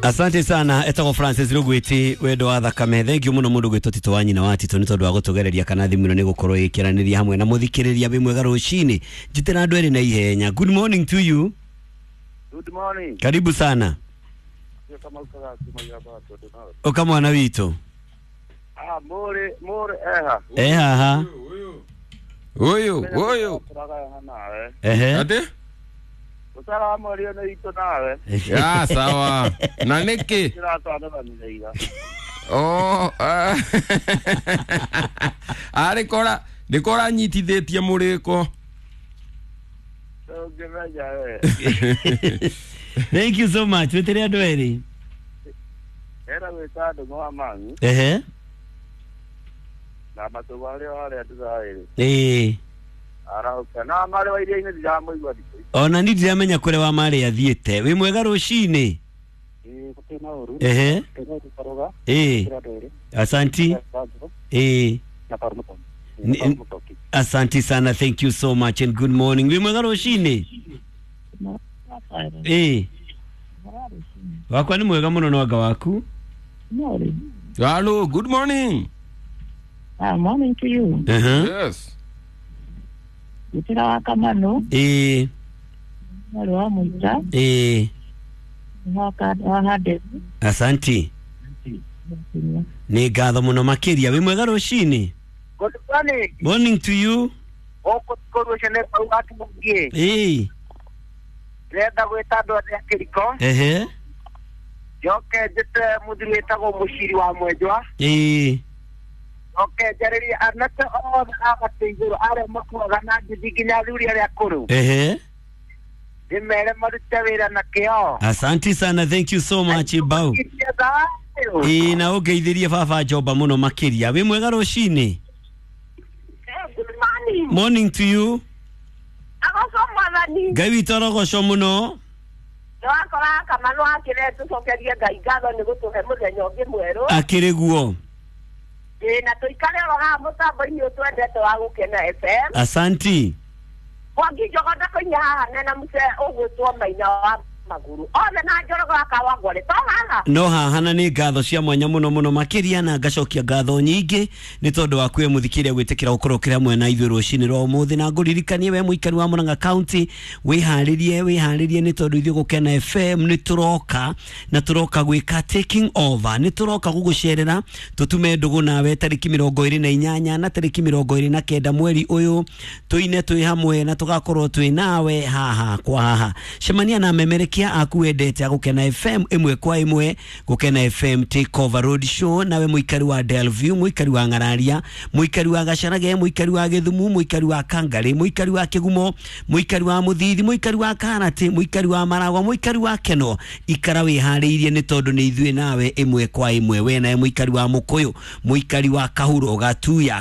Asante sana etagwo Francis Rugwiti wendo wa thakame. Thank you muno mundu gwitwo Tito wa nyina wa Tito ni tondu wa gutugereria kana thimu ino ni gukorwo ikiraniria hamwe na muthikiriria wi mwega rucini. Njitira andu eri na ihenya. Good morning to you. Good morning. Karibu sana. Uka mwana witũ. Ah, muri muri eha. Eh haha. Uyu uyu. Ehe. Ati? Ũtaramwaria na itũ nawe. Ya sawa. Na niki? Kĩratwanĩranĩire. Oh. Arĩ kora nĩ kora nyitithĩtie mũrĩko. Ũngĩmenya we. Thank you so much. Wĩtĩre andũ erĩ. Era gwĩta ndũng'ũ wa mami. Ehe. Na matũ marĩa harĩa ndĩraĩrĩ. Ĩĩ. Arauka na marĩ wa iria-inĩ ndiramũigua thikũ ici. Ona ni ndiramenya kũrĩa wa marĩ athiĩte. Wĩ mwega rũcinĩ. Ehe. Ĩĩ. Asanti. Ĩĩ. Asanti sana, thank you so much and good morning. Wĩ mwega rũcinĩ. Ĩĩ. Wakwa nĩ mwega mũno no anga waku. Hello, good morning. Morning to you. Uh-huh. Yes. Gitira wa Kamano, Ĩĩ. mwarĩ wa Mũita, Ĩĩ. wa Handeti. Asanti. Nĩ ngatho mũno makĩria. Wĩ mwega rũcinĩ. Good morning. Morning to you. Gũkũ kũrũcio nĩ kau gatumũngĩ. Ĩĩ. Ndĩrenda gwĩta andũ othe a kĩriko. Ehe. Njoke njĩte mũthuri wĩtagwo Mũciri wa Mwenjwa. Ĩĩ. Njoke njarĩrie anake othe a gatĩ igũrũ arĩa makuaga na ngithi nginya athuri arĩa akũrũ. Ehe. Ndĩmere marute wĩra na kĩo. Asanti sana, thank you so much Bau. Ĩĩ na ũngeithĩrie baba Njomba mũno makĩria. Wĩ mwega rũcinĩ. Good morning. Morning to you. Agoco mwathani. Ngai witũ arogocwo mũno. Nĩwakora Kamano akĩre tũcokerie Ngai ngatho nĩ gũtũhe mũthenya ũngĩ mwerũ. Akĩrĩ guo. Ĩĩ na tũikare oro haha mũtambo-inĩ ũyũ twendete wa Gũkena FM. Asanti. Mwangi Njogo ndakoinya haha nena mũce ũgwĩtwo Maina wa Maguru. Othe na Njorogo wa Kawangware to haha. No haha na nĩ ngatho cia mwanya mũno mũno makĩria na ngacokia ngatho nyingĩ nĩ tondũ wa kwĩ mũthikĩria gwĩtĩkĩra gũkorwo ũkĩrĩ hamwe na ithuĩ rũcinĩ rwa ũmũthĩ na ngũririkanie we mũikari wa Murang'a County wĩharĩrie wĩharĩrie nĩ tondũ ithuĩ Gũkena FM nĩ tũroka na tũroka gwĩka taking over nĩ tũroka gũgũcerera tũtume ndũgũ nawe tarĩki 28 na tarĩki 29 mweri ũyũ tũine twĩ hamwe na tũgakorwo twĩ nawe haha kwa haha. Cemania na memerekia aku wendete a Gũkena FM ĩmwe kwa ĩmwe. Gũkena FM take over road show nawe mũikari wa Delview, mũikari wa Ng'araria, mũikari wa Gacarage, mũikari wa Gĩthumu, mũikari wa Kangarĩ, mũikari wa Kĩgumo, mũikari wa Mũthithi, mũikari wa Karati, mũikari wa Maragwa, mũikari wa Keno, ikara wĩharĩirie nĩ tondũ nĩ ithuĩ nawe ĩmwe kwa ĩmwe. We nawe mũikari wa Mũkũyũ, mũikari wa Kahuro, Gatuya,